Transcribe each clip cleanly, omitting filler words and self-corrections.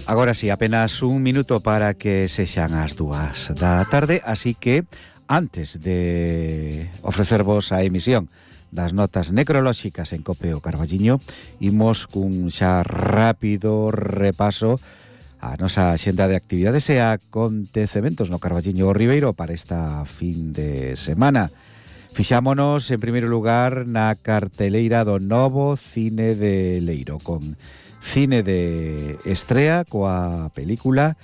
Agora sí, apenas un minuto para que sexan as 2 da tarde, así que antes de ofrecervos a emisión das notas necrolóxicas en Cope o Carballiño, imos cun xa rápido repaso a nosa xenda de actividades e acontecementos no Carballiño Ribeiro para esta fin de semana. Fixámonos, en primeiro lugar, na carteleira do novo Cine de Leiro, con cine de estrea coa película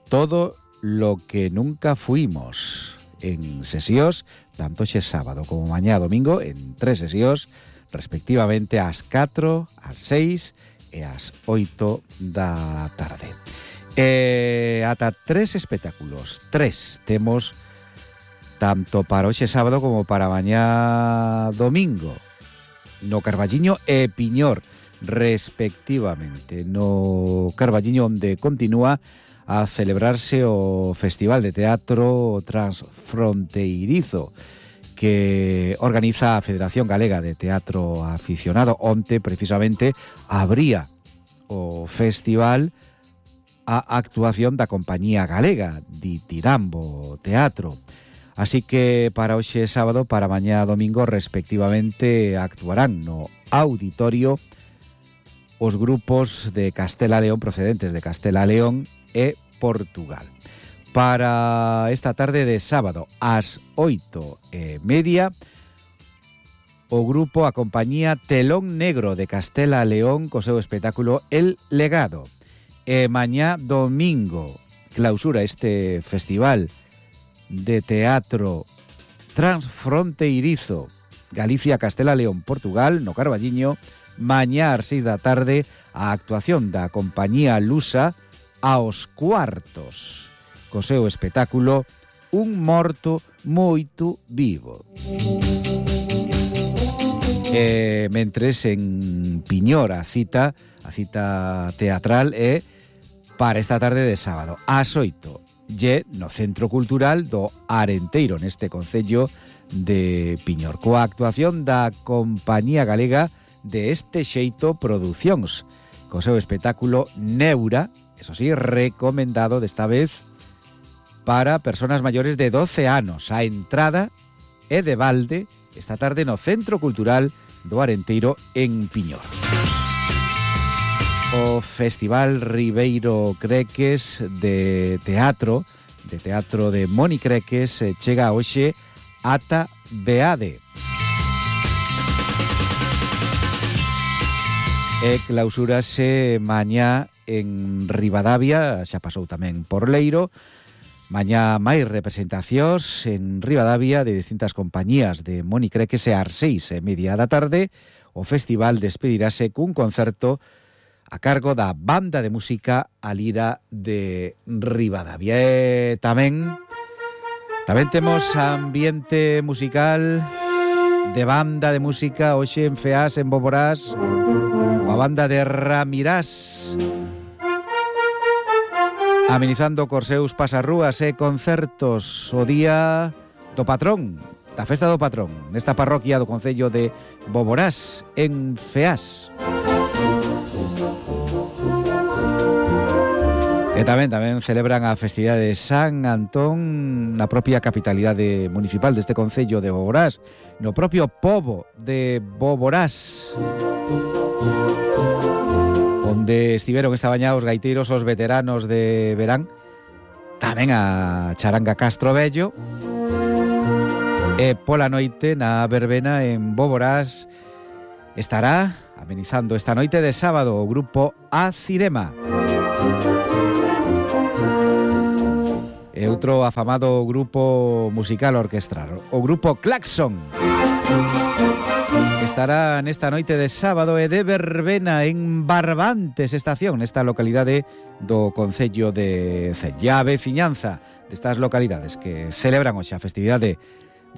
Todo lo que nunca fuimos, en sesións tanto xe sábado como mañá domingo, en 3 sesións respectivamente ás 4, ás 6 e ás 8 da tarde. Ata 3 espectáculos, 3 temos tanto para hoxe sábado como para mañá domingo no Carballiño e Piñor respectivamente. No Carballiño, onde continúa a celebrarse o Festival de Teatro Transfronteirizo que organiza a Federación Galega de Teatro Aficionado. Onte, precisamente, abría o festival a actuación da compañía galega Ditirambo Teatro. Así que para hoxe sábado, para mañá domingo, respectivamente, actuarán no auditorio os grupos de Castela León procedentes de Castela León e Portugal. Para esta tarde de sábado, ás 8:30, o grupo, a compañía Telón Negro de Castela León, co seu espectáculo El Legado. E mañá domingo clausura este festival de teatro transfronteirizo Galicia, Castela León, Portugal, no Carballiño. Mañá ás 6 da tarde a actuación da compañía Lusa aos cuartos co seu espectáculo Un morto moito vivo. Mentres en Piñor a cita teatral é para esta tarde de sábado ás 8 no Centro Cultural do Arenteiro, neste concello de Piñor, coa actuación da compañía galega de Este Xeito Producións, co seu espectáculo Neura, eso sí, recomendado desta vez para personas maiores de 12 anos. A entrada é de balde esta tarde no Centro Cultural do Arenteiro en Piñor. O Festival Ribeiro Creques de teatro de Moni Creques chega hoxe ata Beade. E clausúrase mañá en Ribadavia, xa pasou tamén por Leiro. Mañá máis representacións en Ribadavia de distintas compañías de Moni Creques e ás 6:30 da tarde. O festival despedirase cun concerto a cargo da banda de música A Lira de Ribadavia. E tamén temos ambiente musical de banda de música hoxe en Feás, en Boborás, a banda de Ramirás, amenizando cos seus pasarrúas e concertos o día do patrón, da festa do patrón, nesta parroquia do concello de Boborás, en Feás. E tamén celebran a festividade de San Antón na propia capitalidade municipal deste concello de Boborás, no propio pobo de Boborás, onde estiveron esta mañá os gaiteiros, os veteranos de verán, tamén a Charanga Castro Vello, e pola noite na verbena en Boborás estará amenizando esta noite de sábado o grupo A Cirema. E outro afamado grupo musical orquestral, o grupo Claxon, estará nesta noite de sábado e de verbena en Barbantes Estación, nesta localidade do concello de Cella. A veciñanza destas localidades que celebran hoxe a festividade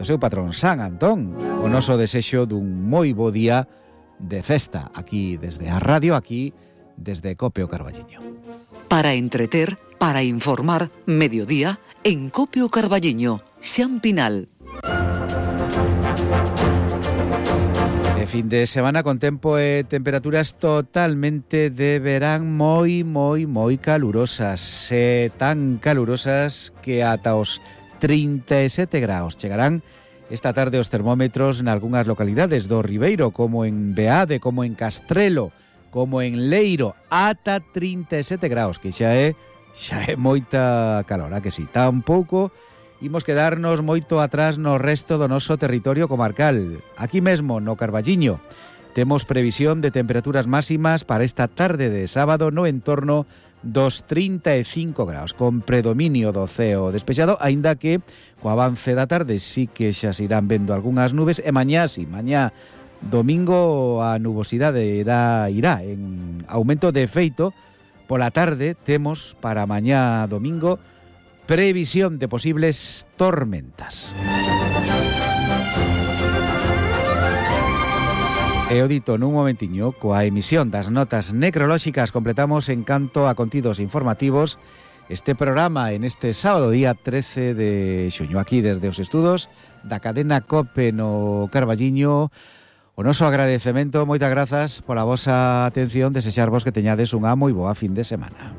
do seu patrón San Antón, o noso desexo dun moi bo día de festa aquí desde a radio, aquí desde Cope o Carballiño. Para entreter, para informar, mediodía en Cope o Carballiño, Xan Pinal. fin de semana con tempo e temperaturas totalmente de verán moi calurosas, tan calurosas que ata os 37 graus chegarán esta tarde os termómetros en algunhas localidades do Ribeiro, como en Beade, como en Castrelo, como en Leiro, ata 37 graus, que xa é moita calor, a que si, tampouco imos quedarnos moito atrás no resto do noso territorio comarcal. Aquí mesmo, no Carballiño, temos previsión de temperaturas máximas para esta tarde de sábado no entorno dos 35 graus, con predominio do ceo despexado, aínda que co avance da tarde sí que xa se irán vendo algunhas nubes, e mañá domingo a nubosidade irá en aumento de efeito. Pola tarde temos para mañá domingo previsión de posibles tormentas. E o dito nun momentiño, coa emisión das notas necrolóxicas completamos en canto a contidos informativos este programa en este sábado día 13 de xuño, aquí desde os estudos da cadena COPE no Carballiño. O noso agradecemento, moitas grazas pola vosa atención, desexarvos que teñades unha moi boa fin de semana.